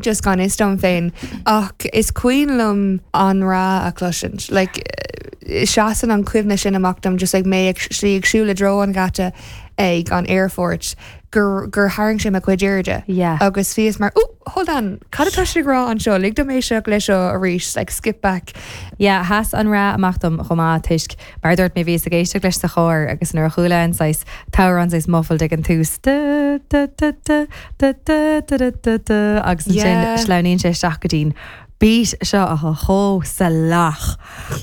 just gan fhios dom féin ach is cuimhin liom an-rá a chloisint. Like, seasann an chuimhne sin amach dom just like mé ag slí ag siúl i dtreo an gheata ag an aerfort gur gur tharraing sé mo chuid airde. Yeah. Agus bhíos mar, Ooh, hold on, cad atá siad ag rá anseo? Lig dom éisteacht leis seo arís, like skip back. Yeah, sheas an rá amach dom chomh maith toisc, mar a dúirt mé, bhíos ag éisteacht leis sa charr agus nuair a chuala an saghas t-amhrán saghas muffled ag an tús, da da da da da da da da da da agus ansin Yeah. sleamhnaíonn sé isteach go dtí'n beat seo atá chomh salach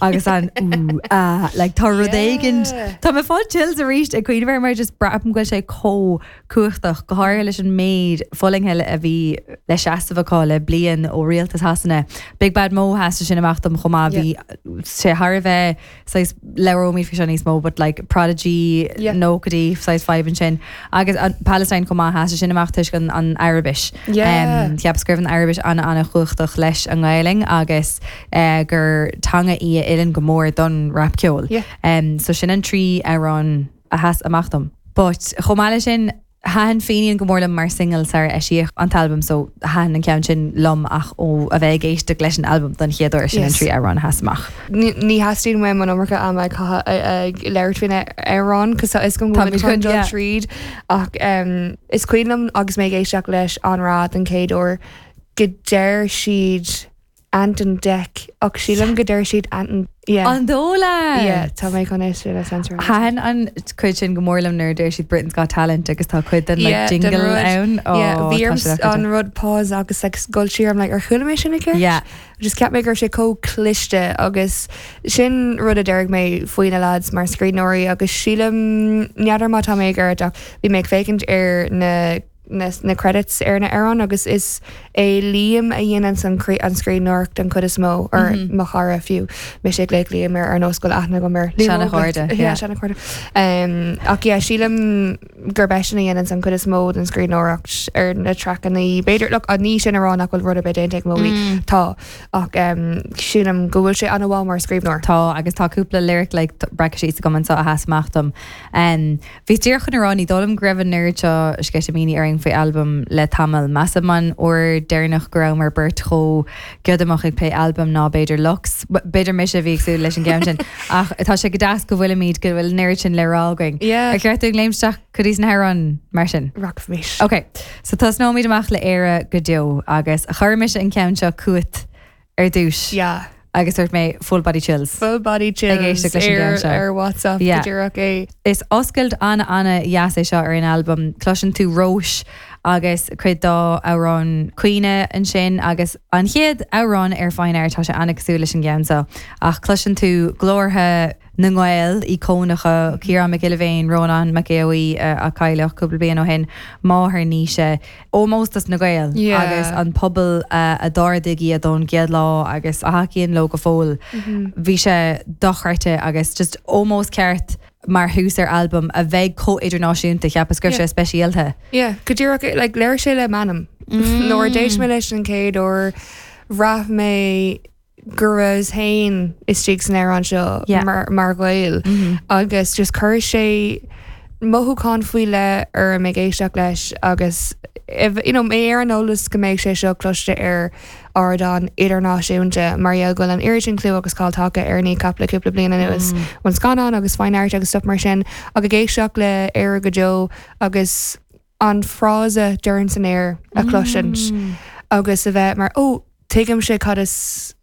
agus an ooh ah like tá rud éigin Yeah. tá mé ag fáil chills arís ag cuimhneamh air mar just braithim go bhfuil sé chomh cumhachtach, go háirithe leis an méid fulaingthe a bhí le seasamh acu le bliain ó rialtas Shasana. Big Bad Mo sheas sé sin amach dom chomh maith, bhí sé thar a bheith saghas, labhróimid faoi seo níos mó, but like Prodigy, nóchaidí, saghas vibe ansin. Agus an Palestine chomh maith, sheas sé sin amach toisc an an Araibis. Cheapas go raibh an Araibis an-an-chumhachtach leis an nGaelainn agus gur teanga í a fheileann go mór don rapcheol. So sin an trí amhrán a sheas amach dom. But chomh maith leis sin, thaitin Fenian go mór liom mar single sar eisíodh an t-albam so thaitin an ceann sin liom ach ó a bheith ag éisteacht leis an albam don chéad uair, sin an Yes. trí amhrán a sheas amach. Ní ní theastaíonn uaim an iomarca ama a chaitheamh ag labhairt faoi na amhráin cos tá fhios agam go Táimid bhfuil chun chun, dul yeah. tríd ach um, is cuimhin liom agus mé ag éisteacht leis an rá den chéad uair go deir siad Ant and Dec ach sílim go deir siad Ant and yeah. An dóigh leat? Yeah, tá mé chun é sin a censoráil. Thaitin an cuid sin go mór liom nuair a deir siad Britain's Got Talent agus tá cuid den like Yeah, den jingle rud. ann. Oh, Yeah, bhí tá orm sé dochreidte. an rud pause agus like dul siar I'm like ar chuala mé sin i gceart? Yeah. Just cheap mé go raibh sé chomh cliste agus sin rud a déarfaidh mé faoi na lads mar scríbhneoirí agus sílim n'fheadar má tá mé ag ceart ach bhí mé ag féachaint ar na na na credits ar na hamhráin agus is é Liam a dhéanann an an scríbhneoireacht den chuid is mó or mo chara fiú mise ag glaoch Liam ar ar nós go bhfuil aithne agam air. Liam Óg, Seana-chairde, yeah, yeah. seana-chairde. Um, ach yeah, sílim gurb eisean a dhéanann an chuid is mó den scríbhneoireacht ar na traiceanna. B'fhéidir, look, ní sin a rá nach bhfuil rud ar bith déanta ag Móglaí. Tá, ach um, sílim go bhfuil sé an-mhaith mar scríbhneoir. Tá, agus tá cúpla lyric like breactha síos agam anseo a sheas amach dom. Um, Bhíos díreach chun a rá, ní dóigh liom go raibh an oiread seo sceitimíní orainn faoi albam le tamall. Measaim an uair deireanach go rabhamar beirt chomh giodamach ag plé albaim ná b'fhéidir Lux. B'fhéidir mise a bhí ag súil leis an gceann sin. Ach tá sé go deas go bhfuilimid, go bhfuil an oiread sin le rá againn. Yeah. Ar cheart dúinn léimt isteach go dtí na hamhráin mar sin? Rachaimid. Ok, so tosnóimid amach le Éire go deo agus chuir mise an ceann seo chugat ar dtús. Yeah. Agus dúirt mé full body chills. Full body chills Ag éisteacht leis an gceann seo. ar WhatsApp Yeah. go díreach é. Is oscailt an-an-dheas é seo ar an albam. Cloiseann tú Róis agus cuid dá amhrán caoineadh ansin agus an chéad amhrán ar Fine Art tá sé an-cosúil leis an gceann seo ach cloiseann tú glórtha na nGael íocónacha, Ciarán Mac Giolla Bhéin, Rónán Mac Aodha Bhuí a cailleadh cúpla bliain ó shin, máthair Naoise, ómós dos na Gaeil agus an pobal a d'ardaigh iad ón gcéad lá agus a thacaíonn leo go fóill. Bhí sé dochreidte agus just ómós ceart mar thús ar albam a bheidh chomh idirnáisiúnta, cheapas go raibh sé speisialta. Yeah, go díreach, like léirigh sé le m'anam. Nuair a d'éist mé leis an chéad uair, bhraith mé go rabhas féin istigh san amhrán seo Yeah. mar, mar Ghael agus just chuir sé mothúchán faoi leith orm ag éisteacht leis agus if, you know, mé ar an eolas go mbeidh sé seo cloiste ar ardán idirnáisiúnta mar gheall go bhfuil an oiread sin clú agus cáil tagtha ar Kneecap le cúpla bliain anuas ón scannán agus Fine Art agus stuff mar sin ach ag éisteacht le Éire go deo agus an frása dorn san aer a chloisint agus a bheith mar ó tuigimse cad is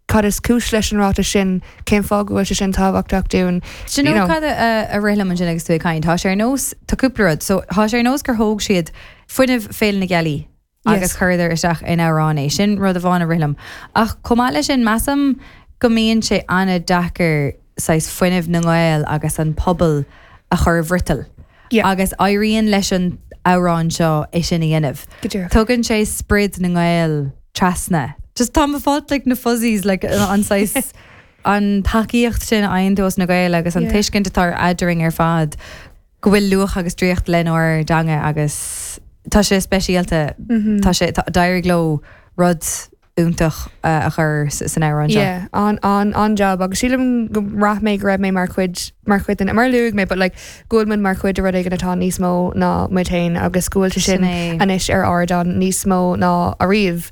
cad is cúis leis an ráiteas sin, cén fáth go bhfuil sé sin tábhachtach dúinn. Do you know cad a rith liom ansin agus tú ag caint? Tá sé ar nós, tá cúpla rud, so tá sé ar nós gur thóg siad fuinneamh Féile na Gealaí agus chuireadar isteach in amhrán é. Sin rud amháin a rith liom. Ach chomh maith leis sin, measaim go mbíonn sé an-deacair saghas fuinneamh na nGael agus an pobal a chur i bhfriotal. Yeah. Agus éiríonn leis an amhrán seo é sin a dhéanamh. Go díreach. Tugann sé sprid na nGael trasna. Just tá mé ag fáil like na fuzzies like an saghas an tacaíocht sin a fhaigheann tú os na Gaeil agus an Yeah. tuiscint atá eadrainn ar fad go bhfuil luach agus draíocht lenár dteanga agus tá sé speisialta. Tá sé tá- d'éirigh leo rud iontach a chur san amhrán seo. Yeah, an, an, an-jab agus sílim go mbraith mé go raibh mé mar chuid, mar chuid den, mar a luaigh mé, but like go bhfuil muid mar chuid de rud éigin atá níos mó ná muid féin agus go bhfuil sé sin Sin é. anois ar ardán níos mó ná ariamh.